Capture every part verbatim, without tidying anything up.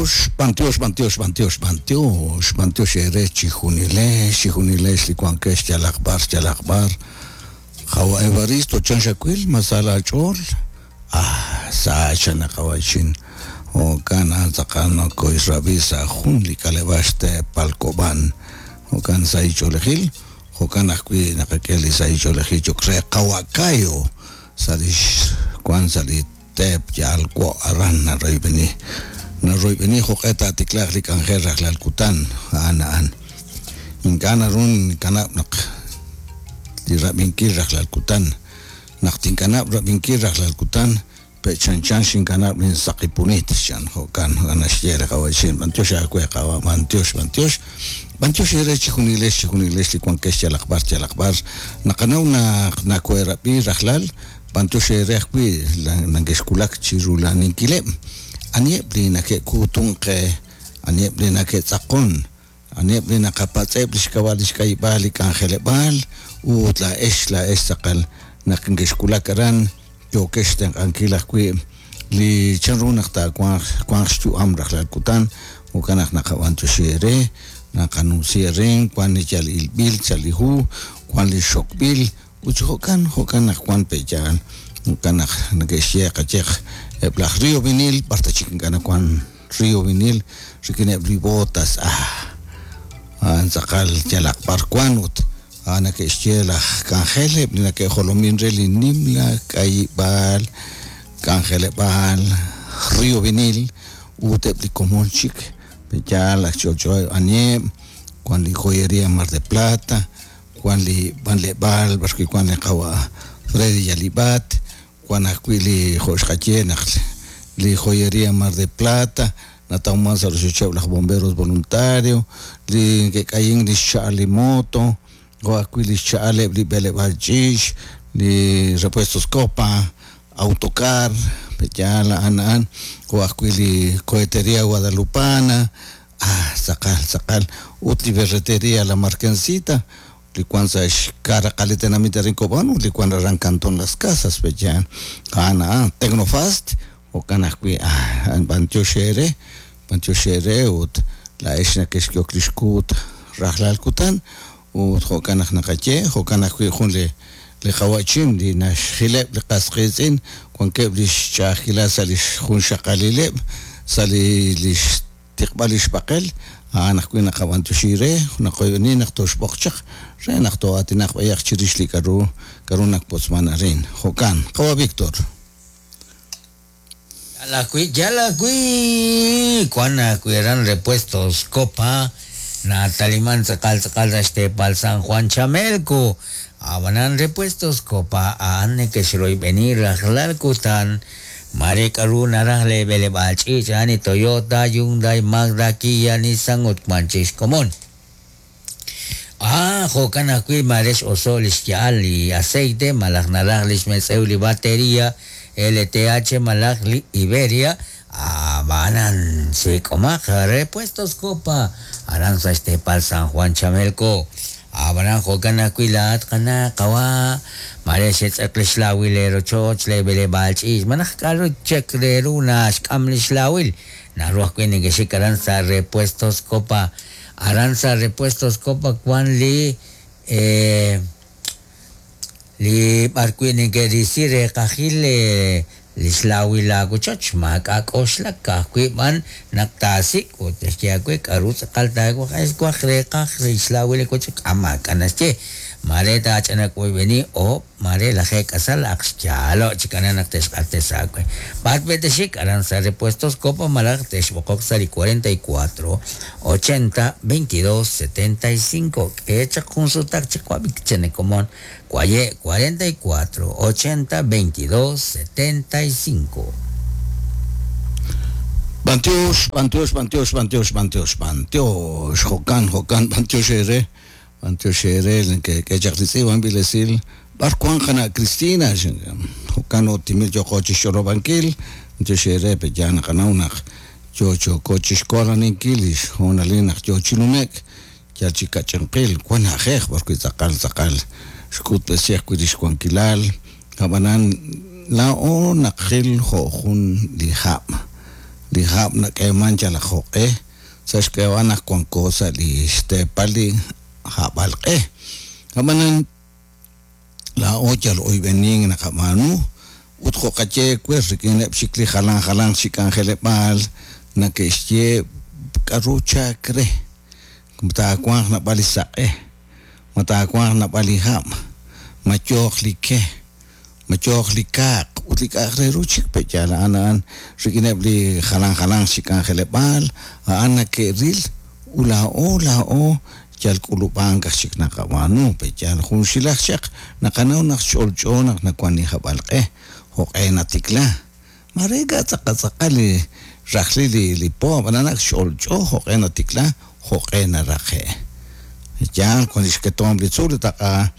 Bantiox, bantiox, bantiox, bantiox, bantiox, bantiox ere chijunilex, chijunilex licuanquex yalakbar, yalakbar. Jawa Evaristo chanxacuil, masala chol. Ah, sa chanakawachin. O kana tzakano koisrabisa jun li kalebaxte palkoban. O kan sa icholejil, o kan ajwi nakakeli sa icholejil chokre kawakayo. Salish kwan salitep yalko aran na roibeni. Na roibeni joqeta tiklaj li k'anjel rajlal kutan a'an a'an ink'a' naru ninkanab' naq li rab'inkil rajlal kutan naq tinkanab' rab'inkil rajlal kutan pechanchan xinkanab' linsaqipunit chan jo'kan naxye li qawa'chin b'antiox aawe qawa' b'antiox b'antiox b'antiox ere chijunilex chijunilex li wankex yalaq b'ar yalaq b'ar naqanaw naq nakoherab'i rajlal b'antiox ere ajwi' nankexkulak chirulaninkileb' anieb' li nake'kuutunqe anieb' li nake'tz'aqon anieb' li naqapatz'eb' li xk'ab'a' li xk'ayib'aal li k'anjeleb'aal ut la'ex la'ex tz'aqal naq nkexkulak aran yookex tenq'ankil ajwi' li chanru naq taawanq wanq xyu'am rajlal kutan jo'kan naq naqab'antioxi ere naqanumsi ere wan li yal ilb'il sa' li hu wan li xokb'il ut jo'kan jo'kan naq wan pe'yaal jo'kan naq neke'xye qayeq eb' laj Río Vinil b'ar ta chik ink'a' nawan Río Vinil rik'ineb' li botas ah a'an tz'aqal yalaq b'ar wan ut a'an neke'xye laj k'anjel eb' li nake'jolomin re li nimla k'ayib'aal k'anjeleb'aal Río Vinil ut eb' li komon chik pe'yaal aj ch'olch'o anieb' wan li joyería Mar de Plata wan li b'anleb'aal b'ar wi' wan li qawa' Freddy Yalibat wan ajwi' li jo' xqaye naq li joyería Mar de Plata natawman sa' rochocheb' laj bomberos voluntario li neke'k'ayin li xcha'al li moto jo' ajwi' li xcha'al eb' li b'eleb'aal ch'iich li repuestos Copa autocar pe'yaal a'an a'an jo' ajwi' li cohetería Guadalupana ah tz'aqal tz'aqal ut li ferretería La Marquencita li wan sa' xkaraqal li tenamit arin Cobán ut li wan aran Cantón Las Casas pe'yaal a'an a'an Tecnofast jo'kan ajwi' ah b'antiox ere b'antiox ere ut la'ex nakexk'ehok li xkuut rajlal kutan ut jo'kan naq naqaye jo'kan ajwi' jun li li qawa'chin li naxjileb' li qas qiitz'in wankeb' li xch'a'ajkilal sa' li xjunxaqalileb' sa' li li xtiqb'al li xb'aqel a'an ajwi' naqab'antioxi re naqoyb'eni naq toxb'oq chaq re naq to'aatinaq b'ayaq chirix li k'aru k'aru nakpotzman arin jo'kan qawa' Víctor. Yala ajwi' yala ajwi' wan ajwi' aran Repuestos Copa nataliman tz'aqal tz'aqal sa' xteepal San Juan Chamelco ab'anan Repuestos Copa a'an neke'xroyb'eni rajlal kutan mare k'aru naraj le b'eleb'aal ch'iich a'an li Toyota, Hyundai, Mazda, Kia, Nissan ut wan chik xkomon. Ah, jo'kan ajwi' mare x'oso' li xya'al li aceite malaj naraj li xmetz'ew li batería L T H malaj li Iberia ab'anan sik'omaq Repuestos Copa aran sa' xteepal San Juan Chamelco ab'anan jo'kan ajwi' laa'at qana qawa' mare xetz'eq li xlawil le rochoch le b'eleb'aal ch'iich malaj k'aru chek re ru naxk'am li xlawil naru ajwi' neke'xik aran sa' Repuestos Copa aran sa' Repuestos Copa wan li eh, li b'ar wi' neke'risi reqajil li xlawil laawochoch maak'a' k'oxlak ka'ajwi' b'an naq taasik' ut xye aawe k'aru tz'aqal taawaj waj reqaj li xlawil li wochoch k'a maak'a' naxye mare taach'anak oyb'eni oob' mare lajeeb' k'asal aq xyaalo' chik aran naq texq'ates aawe b'ar pe'texik aran sa' Repuestos Copa malaj texb'oqok sa' li cuarenta y cuatro, ochenta, veintidós, setenta y cinco k'e chaq jun sutaq chik wab'ik chenekomon Cuaye cuarenta y cuatro, ochenta, veintidós, setenta y cinco. Bantiox, bantiox, bantiox, bantiox, bantiox, bantiox, jo'kan, jo'kan, bantiox ere, bantiox ere, que que chaqlitzi wan bilesil, b'ar wan qana' Cristina, jo'kan otimil yoqo chixch'olob'ankil, bantiox ere, pe ya naqanaw naq yo choko chixkoolaninkil, xhoonalil naq yo chinumek, yal chikach'inqil, wan na'ajej, b'ar wi' tz'aqal, tz'aqal, xk'utb'esi ajwi' li xwankilal, ab'anan laa'o naqil jo' jun li hab'. li hab' nak'eeman yalaq joq'e sa' xk'ab'a' naq wanko sa' li xteepal li hab'alq'e ab'anan laa'o yal oyb'enin naqab'aanu ut jo'qaye wer rik'ineb' chik li jalan jalan chi k'anjeleb'aal nake'xye k'aru chak re taawanq nab'al li saq'e ma taawanq nab'al li hab' ma yooq li ke ma yooq li kaaq ut li k'a'aq re ru chik pe yal a'an a'an rik'ineb' li jalan jalan chi k'anjeleb'aal a'an nake'ril ut laa'o laa'o yal k'ulub'ank aj chik naqab'aanu pe yal junxilaj chaq naqanaw naq ch'olch'o naq nawan li hab'alq'e joq'e natikla mare ink'a' tz'aqal tz'aqal li rajlil li li po ab'anan ak ch'olch'o joq'e natikla joq'e naraqe' yaal wan li xketomb li tzuul taq'a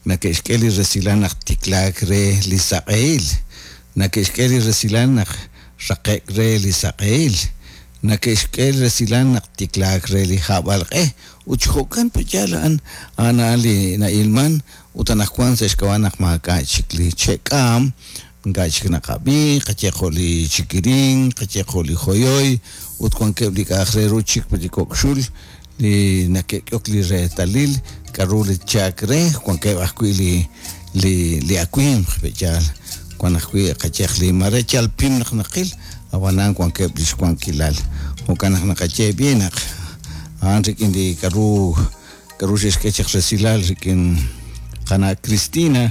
nake'xk'e li resilal naq tiklaak re li saq'ehil nake'xk'e li resilal naq raqe'k re li saq'ehil nake'xk'e li resilal naq tiklaak re li hab'alq'e ut jo'kan pe yaal a'an a'an a'an li na'ilman ut anaqwan sa' xk'ab'a' naq maak'a' chik li che'k'aam ink'a' chik naqab'i qaye jo' li chikirin qaye jo' li joyoy ut wankeb' li k'a'aq re ru chik li kok' xul li nake'k'ok li reetalil k'aru li chak re wankeb' ajwi' li li li awimq pe yaal wan ajwi' qayeq li mare yal pim naq naqil ab'anan wankeb' li xwankilal jo'kan naq naqaye b'i naq a'an rik'in li k'aru k'aru xe'xk'e chaq resilal rik'in qana' Cristina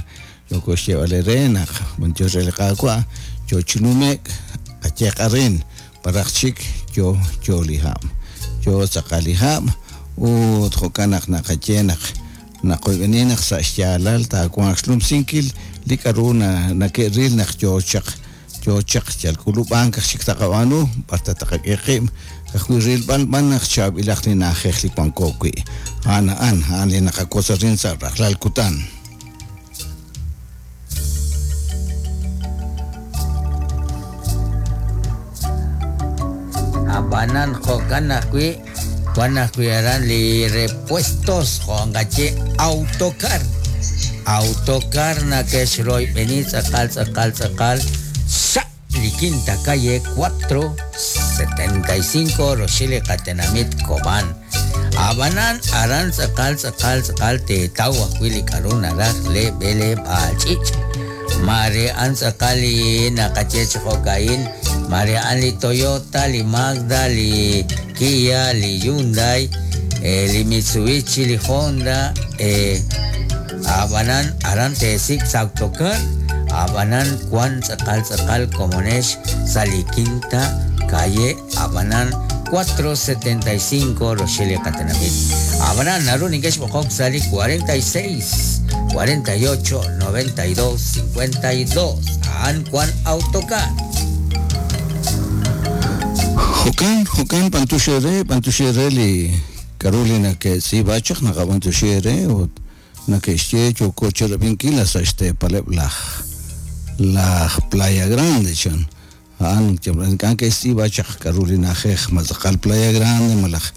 yoko xyeeb'al re naq b'antiox re li Qaawa' yo chi nume'k qayeq arin paraj chik yo yo li hab' yo tz'aqal li hab' ut jo'kan naq naqaye naq naqoyb'eni naq sa' xyaalal taawanq xlumsinkil li k'aru na nake'ril naq yo chaq yo chaq yal k'ulub'ank aj chik taqab'aanu b'ar ta taqak'e qib' ka'ajwi' rilb'al b'an naq chaab'ilaq li na'ajej li wanko wi' a'an a'an a'an li naqakotz arin sa' rajlal kutan. Ab'anan jo'kan ajwi' wan ajwi' aran li repuestos jo'anqaye autocar autocar nake'xroyb'eni tz'aqal tz'aqal tz'aqal sa' li quinta calle cuatro setenta y cinco roxil li qatenamit Cobán ab'anan aran tz'aqal tz'aqal tz'aqal teetaw ajwi' li k'aru naraj le b'eleb'aal ch'ich' mare an tz'aqal li naqaye chi jo'ka'in mare an li Toyota li Mazda li Kia li Hyundai eh, li Mitsubishi li Honda eh, ab'anan aran teesik' sa' autocar ab'anan wan tz'aqal tz'aqal komonex sa' li quinta calle ab'anan cuatro setenta y cinco roxil li qatenamit ab'anan naru ninke'xb'oqok sa' li cuarenta y seis cuarenta y ocho noventa y dos cincuenta y dos a'an wan autocar. Jo'kan jo'kan b'antuxere b'antuxere li k'aru li nake'tz'iib'a chaq naqab'antuxere ut nake'xye yoko chirab'inkil sa' xteepaleb' laj laj Playa Grande chan a'an ink'a' ke'xtz'iib'a chaq k'aru li na'ajej ma tz'aqal Playa Grande malaj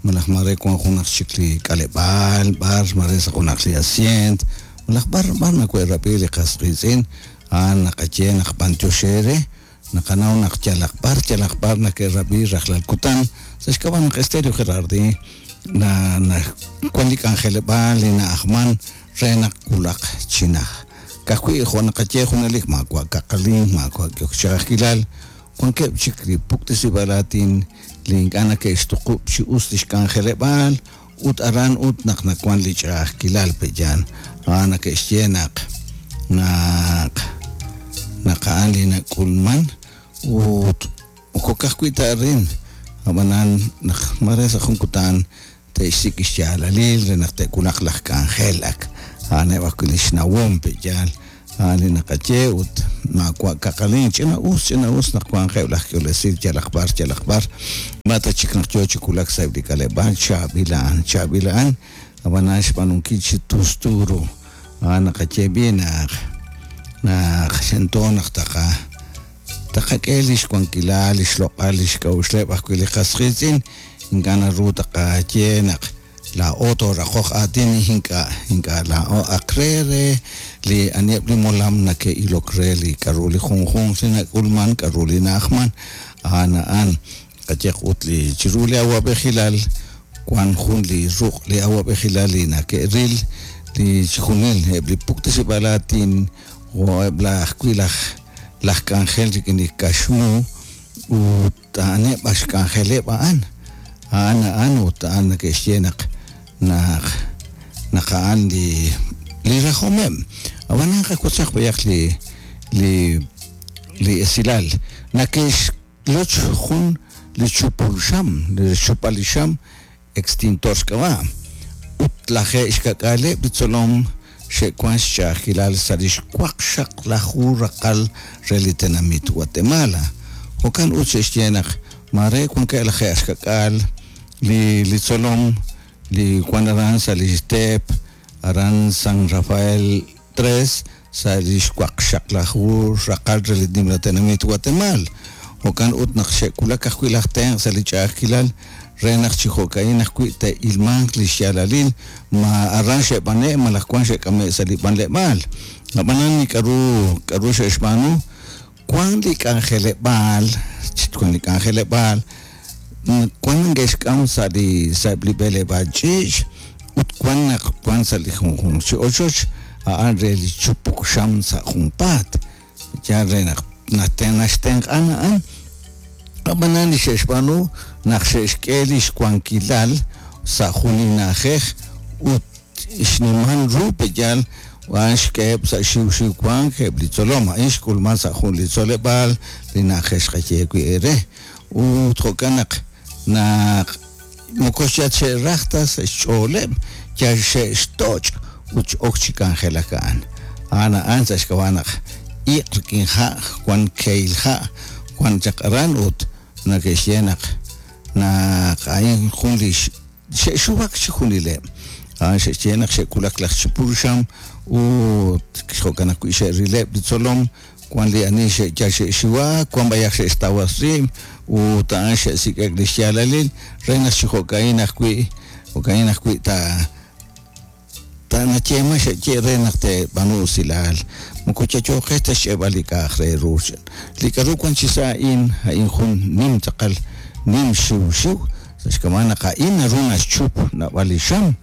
malaj mare wan junaq chik li k'aleb'aal b'ar mare sa' junaq li asient malaj b'ar b'ar nawe'rab'i li qas qiitz'in a'an naqaye naq b'antioxere naqanaw naq yalaq b'ar yalaq b'ar nake'rab'i rajlal kutan sa' xk'ab'a' naq Estéreo Gerardi na na wan li k'anjeleb'aal li na'ajman re naq wulaq chi naj ka'ajwi' jo' naqaye junalik maawa' kaqalin maawa' k'ok ch'a'ajkilal wankeb' chik li puktisib'aal aatin li ink'a' nake'xtuqub' chi us li xk'anjeleb'aal ut aran ut naq nawan li ch'a'ajkilal pe yal a'an nake'xye naq naq naq a'an li nak'ulman ut moko ka'ajwi' ta arin ab'anan naq mare sa' jun kutan te'xsik' xyaalalil re naq te'wulaq laj k'anjel ak a'aneb' ajwi' li xnawom pe yaal a'an li naqaye ut maawa' kaqalin ch'ina us ch'ina us naq wanqeb' laj k'iolesil yalaq b'ar yalaq b'ar ma ta chik naq yo chi wulak sa'eb' li k'aleb'aal chaab'il a'an chaab'il a'an ab'anan xb'aanunkil chi tustu ru a'an naqaye b'i naq naq xento naq taqa taqak'e li xwankilal li xloq'al li xk'a'uxleb' ajwi' li qas qiitz'in ink'a' naru taqaye naq laa'o tooraqoq aatin ink'a' ink'a' laa'o aq re re li aniheb' li molam nake'ilok re li k'aru li junjunq li nak'ulman k'aru li na'ajman a'an A'an a'an qayehaq ut li chiru li awa'b'ejilal wan jun li ruq' li awa'b'ejilal li nake'ril li chijunil eb' li puktesib'aal aatin o eb' laj ajwi' laj laj k'anjel rik'in li kaxmu ut a'aneb' axk'anjeleb' a'an a'an a'an ut a'an nake'xye naq naq naq a'an li li rajomeb' ab'anan qawotzaq b'ayaq li li li esilal nake'xloch jun li chupul xam li xchupal li xam extintor xk'ab'a' ut lajeeb' xka'k'aaleb' li tzolom xe'wan xch'a'ajkilal sa' li xwaqxaqlaju raqal re li tenamit Guatemala jo'kan ut xe'xye naq mare wankeb' lajeeb' xka'k'aal li li tzolom li wan aran sa' li teep aran San Rafael tres sa' li xwaqxaqlaju raqal re li nimla tenamit Guatemala jo'kan ut naq xe'wulak ajwi' laj tenq' sa' li ch'a'ajkilal re naq chi jo'ka'in ajwi' te'ilmanq li xyaalalil ma aran xe'b'ane' malaj wan xe'k'ame' sa' li b'anleb'aal ab'anan li k'aru k'aru xe'xb'aanu wan li k'anjeleb'aal wan li k'anjeleb'aal wan neke'xk'am sa' li sa' li b'eleb'aal ch'iich' ut wan naq wan sa' li junjunq chi ochoch a'an re li chupuk xam sa' junpaat yaal re naq naxtenq'an a'an ab'anan li xe'xb'aanu naq xe'xk'e li xwankilal sa' jun li na'ajej ut xnimal ru pe'yaal a'an xk'eheb' sa' xiwxiw wank eb' li tzolom a'in xk'ulman sa' jun li tzoleb'aal li na'ajej xqaye wi' eere ut jo'kan naq naq moko yal xe'raj ta sa' xch'ooleb' yal xe'xtoch' ut x'ok chi k'anjelak a'an a'an a'an sa' xk'ab'a' naq iq' rik'in ha' wan kehil ha' wan chaq aran ut nake'xye naq naq a'in jun li xe'xuwak chi junileb' a'an xe'xye naq xe'wulak laj chupul xam ut jo'kan ajwi' xe'rileb' li tzolom wan li ani xe'yal xe'xiwak wan b'ayaq xe'xtawas rib' ut a'an xe'sik'ek li xyaalalil re naq chi jo'ka'in ajwi' jo'ka'in ajwi' ta ta nayeema xe'ye re naq te'b'aanu usilal moko yayooqex ta xch'eeb'al li k'a'aj re ru li k'aru wan chi sa' a'in a'in jun nim tz'aqal nim xiwxiw sa' xk'ab'a' naq a'in naru naxchup naab'al li xam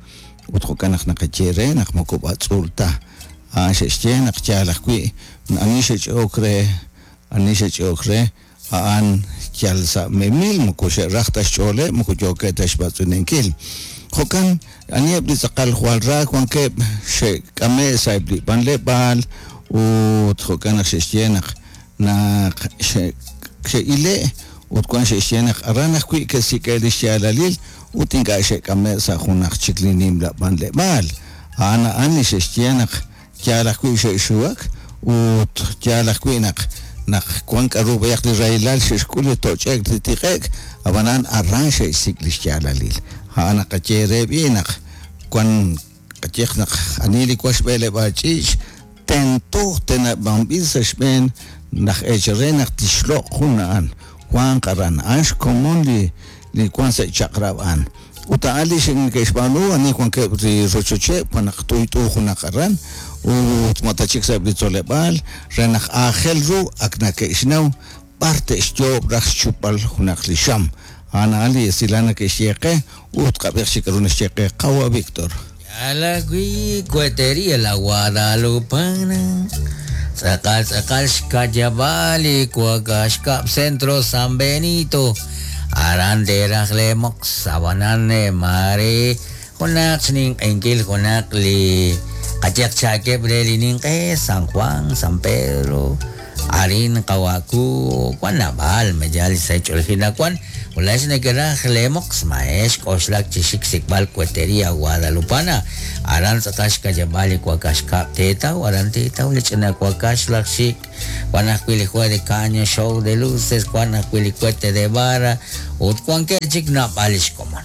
ut jo'kan naq naqaye re naq moko b'atz'uul ta a'an xe'xye naq yaal ajwi' ani xe'ch'e'ok re ani xe'ch'e'ok re a'an yal sa' memil moko xe'raj ta xch'ooleb' moko yookeb' ta xb'atz'unenkil jo'kan aniheb' li tz'aqal jwal ra wankeb' xe'k'ame' sa' eb' li b'anleb'aal ut jo'kan naq xe'xye naq naq xe'ile' ut wan xe'xye naq aran ajwi' ke'sik'e li xyaalalil ut ink'a' xe'k'ame' sa' junaq chik li nimla b'anleb'aal a'an a'an li xe'xye naq yaal ajwi' xe'xuwak ut yaal ajwi' naq naq wan k'aru b'ayaq li rahilal xe'xk'ul li toch'ek li tiq'ek ab'anan aran xe'xsik' li xyaalalil a'an naqaye re b'i naq wan qayehaq naq ani li wan xb'eleb'aal ch'iich' tento teneb'anb'il sa' xb'een laj eechal re naq tixloq' jun a'an wanq aran a'an xkomon li li wan sa' chaq'rab' a'an ut a'an li neke'xb'aanu ani wankeb' li rochocheb' wan naq t'uyt'u junaq aran ut ma ta chik sa' eb' li tzoleb'aal re naq aajel ru ak nake'xnaw b'ar te'xyoob' raj xchupb'al junaq li xam a'an a'an li esilal nake'xye qe ut qab'ej chik k'aru naxye qe qawa Víctor. Alagui cuetería la Guadalupana tz'aqal tz'aqal xkayab'al li Cuacaxcab Centro San Benito aran teraj le mox abanan mare junaq xninq'enkil junaq li qayaq chakeb' re li ninq'e San Juan San Pedro arin qawaku wan nab'al meyal sa' ch'oljinawan ulax nekeraj le mox maex k'oxlak chi xik sikb'al cuetería Guadalupana aran tz'aqal xkayab'al li Cuacaxcab teetaw aran teetaw li ch'ina Cuacax laj xik wan ajwi' li juego de caño show de luces wan ajwi' li cohete de vara ut wankeb' chik naab'al li xkomon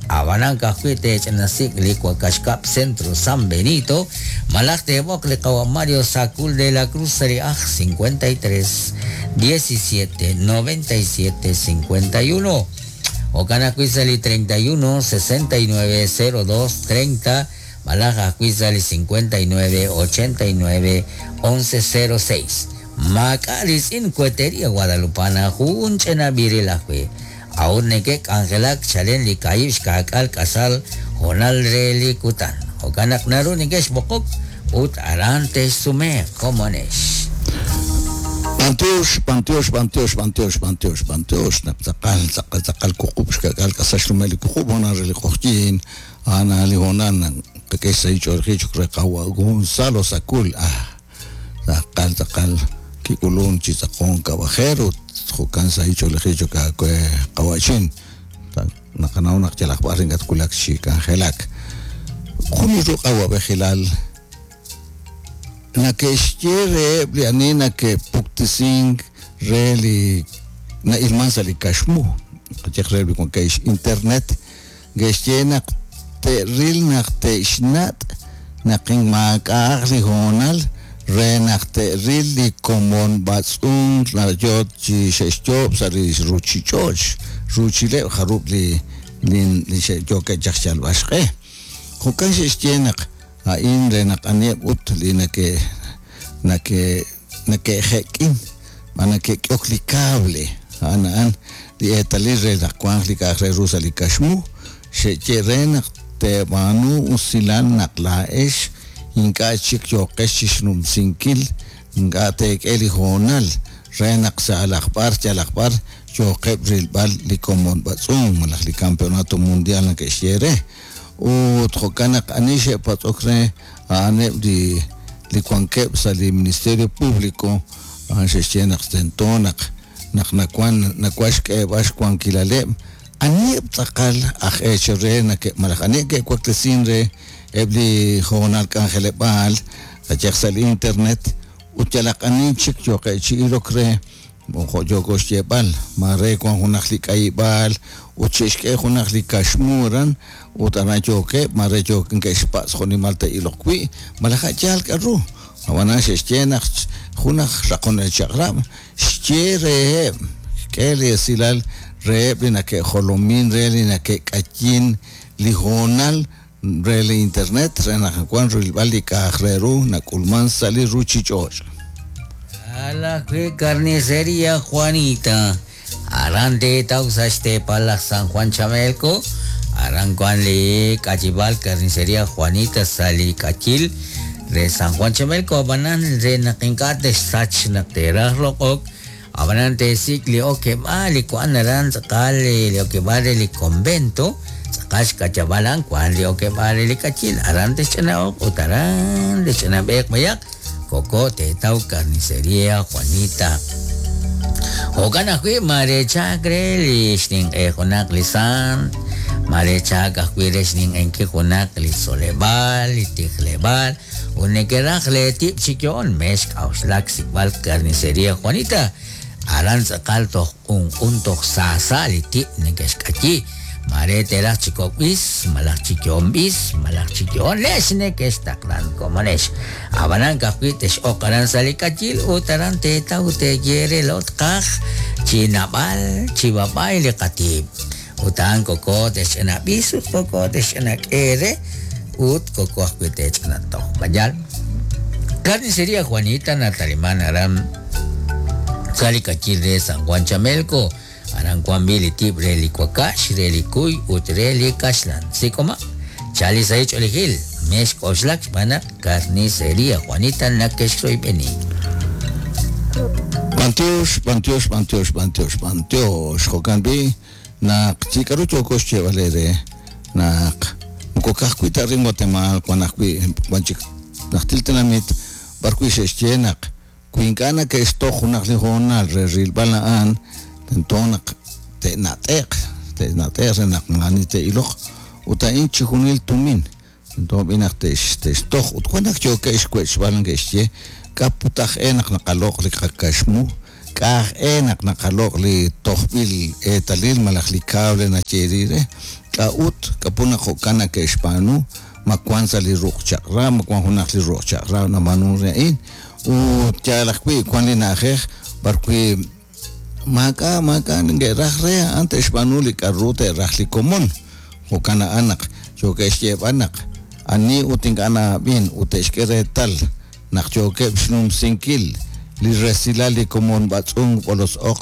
abanan ka'ajwi' teech'inasik' li Cuacaxcab Centro San Benito malaj teeb'oq li qawa Mario Sacul de la Cruz sa' li aj cincuenta y tres diecisiete noventa y siete cincuenta y uno jo'kan ajwi' sa' li treinta y uno sesenta y nueve cero dos treinta malaj ajwi' sa' li cincuenta y nueve ochenta y nueve once cero seis Maak'a' ritz'in Cuetería Guadalupana jun ch'ina b'iril ajwi'. A'ut neke'k'anjelak chalen li ka'ib' xka'k'aal k'asal hoonal re li kutan. Jo'kan naq naru neke'xb'oqok ut aran te'xsumeeq komonex. B'antiox, b'antiox, b'antiox, b'antiox, b'antiox, b'antiox, naq tz'aqal, tz'aqal, tz'aqal wuqub' xka'k'aal k'asal xnumel li wuqub' hoonal re li q'oqyink, a'an li hoonal qak'e xsahil ch'oolejil cho'q re qawa' Gonzalo Sacul, ah, tz'aqal, tz'aqal kik'ulun chi tz'aqon kab'ajer ut jo'kan sahil ch'oolejil cho'q aawe qawa'chin. Naqanaw naq yalaq b'ar ink'a' twulak chi k'anjelak. Jun li ruq' awab'ejilal nake'xye reheb' li ani nake'puktisink re li na'ilman sa' li kaxmu, qayehaq reheb' li wankeb' internet, nke'xye naq te'ril naq te'xnat' naq maak'a'aq li hoonal re naq te'ril li komon b'atz'unk yo chi xe'xyoob' sa' li ruuchich'och', ruuchileb' jarub' li li xe'yookeb' chaq xyalb'al xq'e. Jo'kan xe'xye naq a'in re naq aniheb' ut li nake nake nake'jek'in ma nake'k'ok li cable, a'an a'an li eetalil re naq wanq li k'a'aq re ru sa' li kaxmu, xe'ye re naq teeb'aanu usilal naq laa'ex ink'a' chik yooqex chixnumsinkil, ink'a' teek'e li hoonal re naq sa' laj b'ar yalaq b'ar yooqeb' rilb'al li komon b'atz'unk malaj li campeonato mundial nake'xye re. Ut jo'kan naq ani xe'patz'ok re a'aneb' li li wankeb' sa' li Ministerio Público, a'an xe'xye naq tento naq naq nawan nawan xk'eeb'al xwankilaleb' aniheb' tz'aqal aj eechal re nake' malaj aniheb' ke'waklesin re eb' li hoonal k'anjeleb'aal qayehaq sa' li internet ut yalaq ani chik yooqe' chi ilok re jo' yooko xyeeb'al mare wan junaq li k'ayib'aal ut xe'xk'e junaq li kaxmu aran ut aran yookeb' mare yook ke'xpatz' jo'nimal te'iloq wi' malaj a'yaal k'aru. Ab'anan xe'xye naq junaj raqonel chaq'rab' xye reheb' xk'e li esilal reheb' li nake'jolomin re li nake'k'ayin li hoonal re li internet re naq wan rilb'al li k'a'aq re ru nak'ulman sa' li ruuchich'och'. A la carnicería Juanita, aran teetaw sa' xteepal laj San Juan Chamelco, aran wan li k'achib'al carnicería Juanita sa' li k'achil re San Juan Chamelco, ab'anan re naq ink'a' te'xsach naq te'raj loq'ok, ab'anan te'sik' li okeb'aal li wan aran tz'aqal li okeb'aal re li convento, tz'aqal xk'achab'al a'an wan li okeb'aal re li k'achil, aran te'xch'ana'oq ut aran te'xch'anab'eeq mayaq koko teetaw carnicería Juanita. Jo'kan ajwi' mare chak re li xninq'e junaq li sant, mare chak ajwi' re xninq'enkil junaq li tzoleb'aal, li tijleb'aal, ut neke'raj le tib' chi yo'on mex k'auxlak sik'b'al carnicería Juanita. Aran tz'aqal toj q'unq'un toj saasa li tib' neke'xk'ayi. Mare teraj chi kok'b'is, malaj chi yo'onb'is, malaj chi yo'on lex neke'xtaqlan komonex. Ab'anan ka'ajwi' tex'oq aran sa' li k'ayil ut aran teetaw teeye re lot qaj chi nab'al chi b'ab'ay li qatib'. Ut a'an koko texch'anab'is ut koko texch'anak'e re ut koko ajwi' tech'anatoj. Mayal. Carnicería Juanita nataliman aran sa' li k'ayil re San Juan Chamelco. Aran wan bi li tib' re li wakax, re li kuy ut re li kaxlan. Sik'oma, chali sa' ich'oolejil, mex k'oxlak xb'aan naq carnicería Juanita nake'xroyb'eni. B'antiox, b'antiox, b'antiox, b'antiox, b'antiox. Jo'kan b'i naq chi k'aru yooko xyeeb'al eere naq moko ka'ajwi' ta arin Guatemala wan ajwi' wan chik najtil tenamit b'ar wi' xe'xye naq wi ink'a' nake'xtoj junaq li hoonal re rilb'al a'an tento naq te'nat'eq, te'nat'eq re naq maani te'iloq ut a'in chi junil tumin tento b'i naq te'x te'xtoj ut wan naq yookeb' xwech'b'al neke'xye k'a put aj e naq naqaloq' li qakaxmu, k'a aj e naq naqaloq' li tojb'il eetalil malaj li cable nayeeri re, k'a ut k'apu naq jo'kan nake'xb'aanu ma wan sa' li ruq' chaq'rab', ma wan junaq li ruq' chaq'rab' nab'aanu re a'in ut yaal ajwi' wan li na'ajej b'ar wi' maak'a' maak'a' neke'raj re a'an te'xb'aanu li k'aru te'raj li komon. Jo'kan a'an naq yookeb' xyeeb'al naq ani ut ink'a' na'ab'in ut te'xk'e reetal naq yookeb' xnumsinkil li resilal li komon b'atz'unk b'olos oq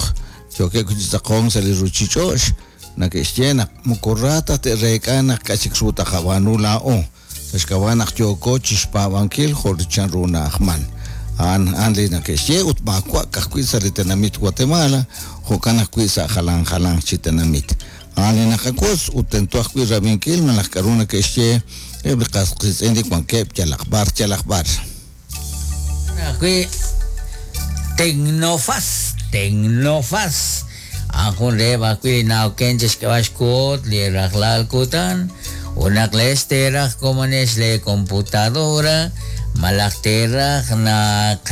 yookeb' chi tz'aqonk sa' li ruuchich'och' nake'xye naq moko ra ta te'reek'a naq k'a' chik ru taqab'aanu laa'o sa' xk'ab'a' naq yooko chixpaab'ankil jo' chan ru na'ajman a'an a'an li nake'xye ut maawa' ka'ajwi' sa' li tenamit Guatemala jo'kan ajwi' sa' jalan jalanq chi tenamit a'an li naqawotz ut tento ajwi' rab'inkil malaj k'a'ru nake'xye eb' li qas qiitz'in li wankeb' yalaq b'ar yalaq b'ar. Ajwi' Tecnofaz, Tecnofaz. A'an reheb' ajwi' li na'oken chixk'eb'al xkuot li rajlal kutan ut naq leex teeraj komonex le computadora malaj teeraj naq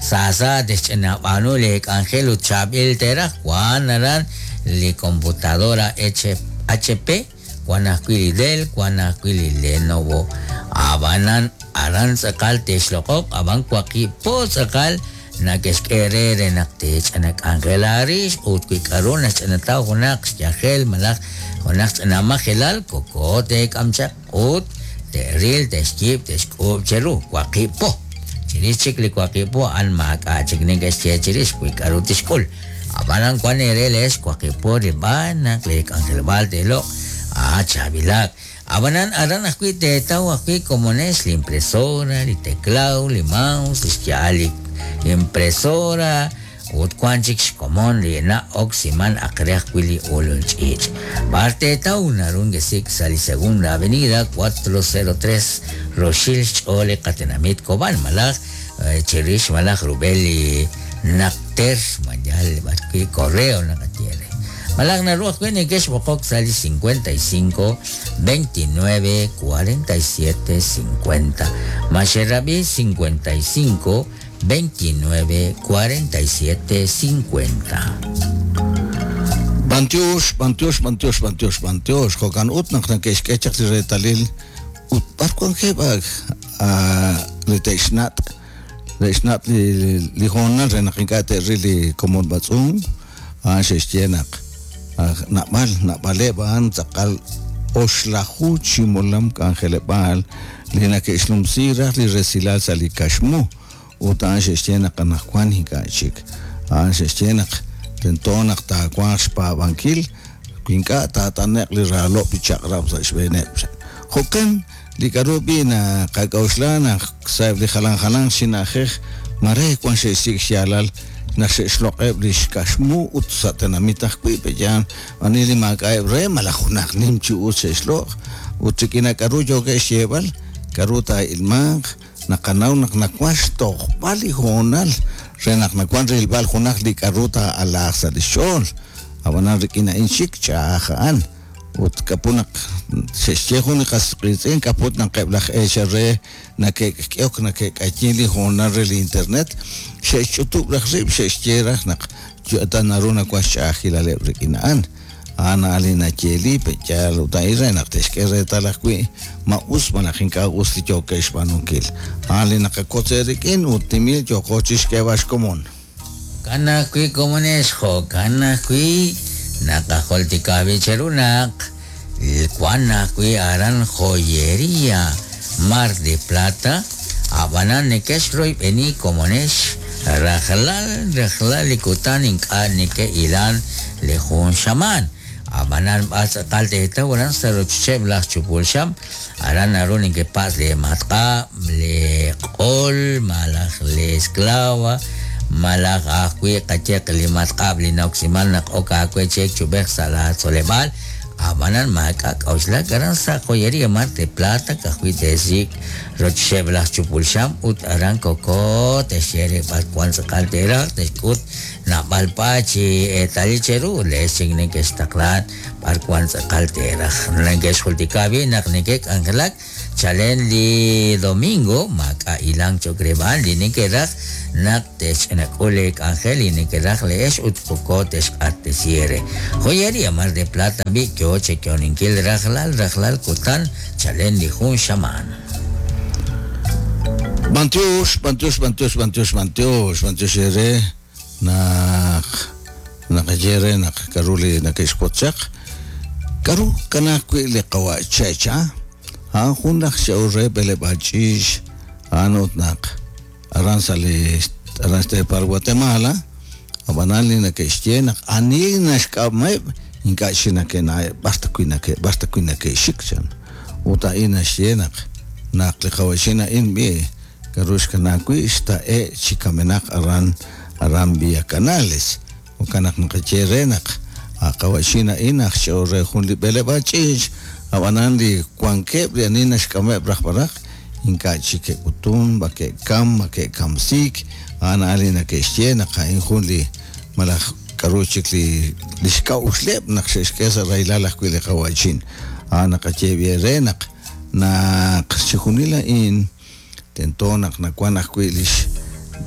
saasa texch'inab'aanu le k'anjel ut chaab'il teeraj wan aran li computadora H P wan ajwi' li Dell wan ajwi' li Lenovo ab'anan aran tz'aqal texloq'oq ab'an waqib' po tz'aqal nake'xk'e re re naq tech'ana k'anjela rix ut wi k'a'ru naxch'anataw junaq xyajel malaj junaq ch'anamajelal koko teek'am chaq ut te'ril texyiib' texk'uub' cheru waqib' po chirix chik li waqib' po a'an maak'a' chik neke'xye chirix wi k'a'ru tixk'ul ab'anan wan eere leex waqib' po rilb'al naq li k'anjeleb'aal teeloq' ah chaab'ilaq ab'anan aran ajwi' teetaw ajwi' komonex li impresora li teclado li mouse li xya'al li impresora ut wan chik xkomon li na'oksiman aq re ajwi' li ulul ch'iich' b'ar teetaw naru ngesik sa' li Segunda Avenida cuatro cero tres roxil xch'ool li qatenamit Cobán malaj chirix malaj rub'el li naqter mayal b'arwi' correo naqaye re malaj naru ajwi' neke'xb'oqok sa' li cincuenta y cinco veintinueve cuarenta y siete cincuenta maxerab'i cincuenta y cinco veintinueve cuarenta y siete cincuenta. Bantiox, bantiox, bantiox, bantiox, bantiox. Jo'kan ut naq nake'xk'e chaq li reetalil ut b'ar wankeb' li te'xnat' te'xnat' li li hoonal re naq ink'a' te'ril li komon b'atz'unk a'an xe'xye naq nab'al nab'aleb' a'an tz'aqal oxlaju chi molam k'anjeleb'aal li nake'xnumsi raj li resilal sa' li kaxmu ut a'an xe'xye naq anaqwan ink'a' chik a'an xe'xye naq tento naq taawanq xpaab'ankil wi ink'a' taat'ane'q li raalob' li chaq'rab' sa' xb'eeneb' jo'kan li k'a'ru b'i naqak'a'uxla naq sa'eb' li jalan jalanq chi na'ajej mare wan xe'xsik' xyaalal naq xe'xloq'eb' li xkaxmu ut sa' tenamit ajwi' pe'yaan ani li maak'a'eb' re malaj junaq nim chi us xe'xloq' ut rik'in k'a'ru yookeb' xyeeb'al k'a'ru taa'ilmanq naqanaw naq nawan xtojb'al li hoonal re naq nawan rilb'al junaq li k'a'ru taa'alaaq sa' li xch'ool ab'anan rik'in a'in chik ch'a'aj a'an ut k'apu naq xe'xye jun li qas qiitz'in k'aput naq eb' laj eechal re nake'k'ehok nake'k'ayin li hoonal re li internet xe'xch'utub' raj rib' xe'xye raj naq ta naru nawan xch'a'ajilaleb' rik'in a'an a'an a'an li nayeeli pe'yaal ut a'in re naq te'xk'e reetal ajwi' ma us malaj ink'a' us li yookeb' xb'aanunkil a'an li naqakotz rik'in ut timil yooko chixk'eeb'al xkomon. Jo'kan ajwi' komonex jo'kan ajwi' naqajultika b'i cheru naq wan ajwi' aran joyería Mar de Plata ab'anan neke'xroyb'eni komonex rajlal rajlal li kutan ink'a' neke'ilan li jun xamaan ab'anan b'ar tz'aqal teetaw aran sa' rochocheb' laj chupul xam aran naru neke'patz' li matq'ab' li q'ol malaj li esclava malaj ajwi' qayeq li matq'ab' li na'oksiman naq ok aawe chek chub'ej sa' la tzoleb'aal ab'anan maak'a' k'a'uxlak aran sa' joyería Mar de Plata ka'ajwi' te'xsik' rochocheb' laj chupul xam ut aran koko te'xye re b'ar wan tz'aqal teeraj te'xk'ut nab'al pa chi eetalil cheru leex chik neke'xtaqlan b'ar wan tz'aqal teeraj neke'xjultika b'i naq neke'k'anjelak chalen li domingo maak'a' ilank cho'q reb'an li neke'raj naq texch'inak'ul li k'anjel li neke'raj leex ut koko texq'axtesi re joyería Mar de Plata b'i yo chekyoninkil rajlal rajlal kutan chalen li jun xamaan. Bantiox, bantiox, bantiox, bantiox, bantiox, bantiox ere naq naqaye re naq k'a'ru li nake'xwotzaq k'a'ru kanaq wi' li qawa' checha a'an jun laj xe'ul re b'eleb'aal ch'iich' a'an ut naq aran sa' li aran xteepal Guatemala ab'anan li nake'xye naq ani naxk'ameb' ink'a' chik nake'na'eb' b'ar ta wi' nake' b'ar ta wi' nake'xik chan ut a'in naxye naq naq li qawa'chin a'in b'i k'aru xkana wi' xta'e' chi kamenaq aran aran Villa Canales jo'kan naq naqaye re naq a qawa'chin a'in aj ch'ool re jun li b'eleb'aal ch'iich' ab'anan li wankeb' li ani naxk'ameb' raj b'araq ink'a' chik ke'k'utun ma ke'kam ma ke'kamsiik a'an a'an li nake'xye naq a'in jun li malaj k'aru chik li li xk'a'uxleb' naq xe'xk'e sa' rahilal ajwi' li qawa'chin a'an naqaye b'i re naq naq chijunil a'in tento naq nawan ajwi' lix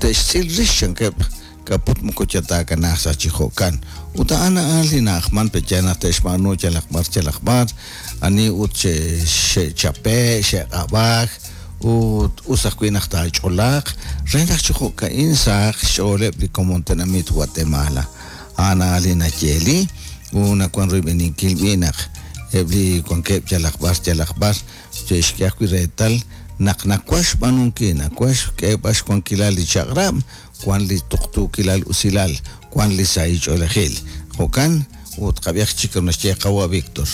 te'xtz'il rix chankeb' k'aput moko yataakanaaq sa' chi jo'kan ut a'an a'an li na'ajman pe'yaal naq te'xb'aanu yalaq b'ar yalaq b'ar ani ut xe- xe'chape' xe'q'ab'aak ut us ajwi' naq taach'olaaq re naq chi jo'ka'in sahaq xch'ooleb' li komon tenamit Guatemala a'an a'an li nayeeli ut nawan royb'eninkil b'i' naq eb' li wankeb' yalaq b'ar yalaq b'ar che'xk'e ajwi' reetal naq nawan xb'aanunkil nawan xk'eeb'al xwankilal li chaq'rab' wan li tuqtuukilal usilal wan li sahil ch'oolejil jo'kan ut qab'ihaq chik naxye qawa' Víctor.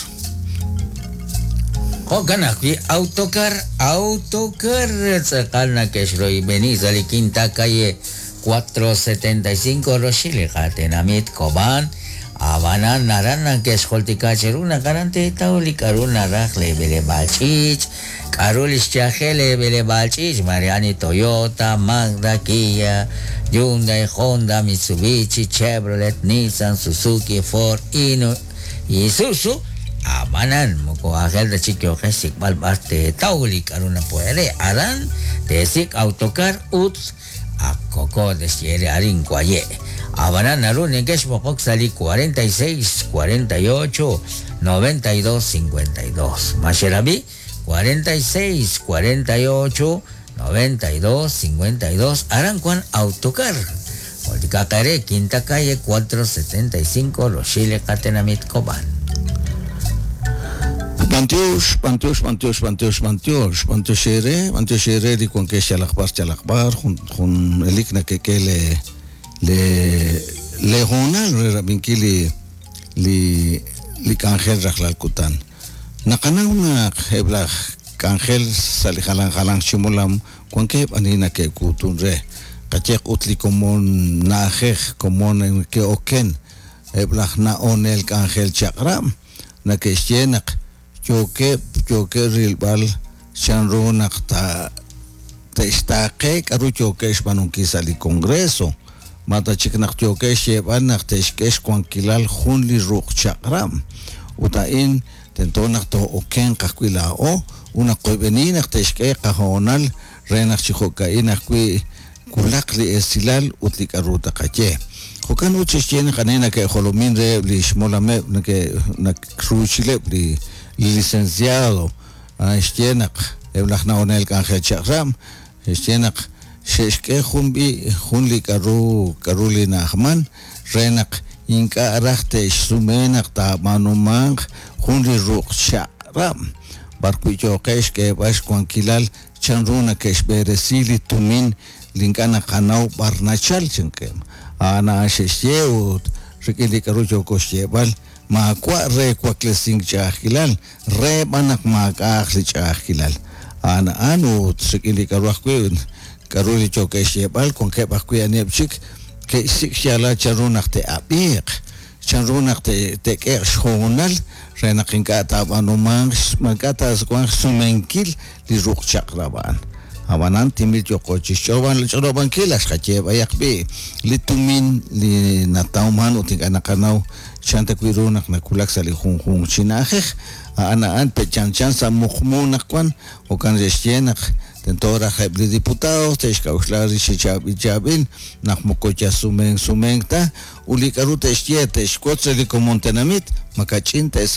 Jo'kan ajwi' autocar autocar tz'aqal nake'xroyb'eni sa' li quinta calle cuatro setenta y cinco roxil li qatenamit Cobán ab'anan aran nake'xjultika cheru naq aran teetaw li k'aru naraj li b'eleb'aal ch'iich' k'aru li xyajel li b'eleb'aal ch'iich' Mariani Toyota, Mazda, Kia, Hyundai, Honda, Mitsubishi, Chevrolet, Nissan, Suzuki, Ford, Ino, Isuzu ab'anan moko aajel ta chik yooqex xsik'b'al b'ar teetaw li k'aru napuere aran teesik' autocar ut akoko texyere arin waye' ab'anan naru neke'xb'oqok sa' li cuarenta y seis, cuarenta y ocho, noventa y dos, cincuenta y dos maxerabi cuarenta y seis, cuarenta y ocho, noventa y dos, cincuenta y dos aran wan autocar Jultikaqere, quinta calle cuatro setenta y cinco Roxile qatenamit Cobán. Bantiox, bantiox, bantiox, bantiox, bantiox, bantiox ere, bantiox ere li wankex yalaq b'ar yalaq b'ar jun jun elik nakek'e le le le hoonal re rab'inkil li li li k'anjel rajlal kutan. Naqanaw naq eb' laj k'anjel sa' li jalan jalan ximolam wankeb' ani nake'kuutun re qayeq ut li komon na'ajej komon ke'oken eb' laj na'onel k'anjel chaq'rab' nake'xye naq yookeb' yookeb' rilb'al chanru naq ta te'xtaaqe k'aru yookeb' xb'aanunkil sa' li Congreso mata chik naq yookeb' xyeeb'al naq te'xk'e xwankilal jun li ruq' chaq'rab' ut a'in tento naq too'okenq ajwi' laa'o ut naq qoyb'eni naq te'xk'e qahoonal re naq chi jo'ka'in ajwi' wulaq li esilal ut li k'aru taqaye. Jo'kan ut xe'xye naq ani nake'jolomin reheb' li xmolameb' nake' nakruuchileb' li li licenciado xye naq eb' laj na'onel k'anjel chaq'rab' xye naq xe'xk'e jun b'i jun li k'aru k'aru li na'ajman re naq ink'a' raj te'xsume naq taab'aanumanq jun li ruq' chaq'rab' b'ar wi' yooqe' xk'eeb'al xwankilal chanru nake'xb'eresi li tumin li ink'a' naqanaw b'ar nachal chankeb' a'an a'an xe'xye ut rik'in li k'aru yooko xyeeb'al maawa' re waklesink ch'a'ajkilal re b'an naq maak'a'aq li ch'a'ajkilal a'an a'an ut rik'in li k'aru ajwi' k'aru li yookeb' xyeeb'al wankeb' ajwi' aniheb' chik ke'xsik' xyaalal chanru naq te'ab'iiq chanru naq te'k'e'q xhoonal re naq ink'a' taab'aanumanq ink'a' taawanq xsumenkil li ruq' chaq'rab' a'an ab'anan timil yooko chi xch'olob'ankil axqaye b'ayaq b'i' li tumin li natawman ut ink'a' naqanaw chan ta wi' ru naq nakulak sa' li junjunq chi na'ajej a'an a'an pe'chanchan sa' muqmu naq wan jo'kan xe'xye naq tento raj eb' li diputados te'xk'a'uxla rix chi chaab'il chaab'il naq moko yasumenk sumenk ta ut li k'aru te'xye te'xwotz re li komon tenamit makach'in te'sa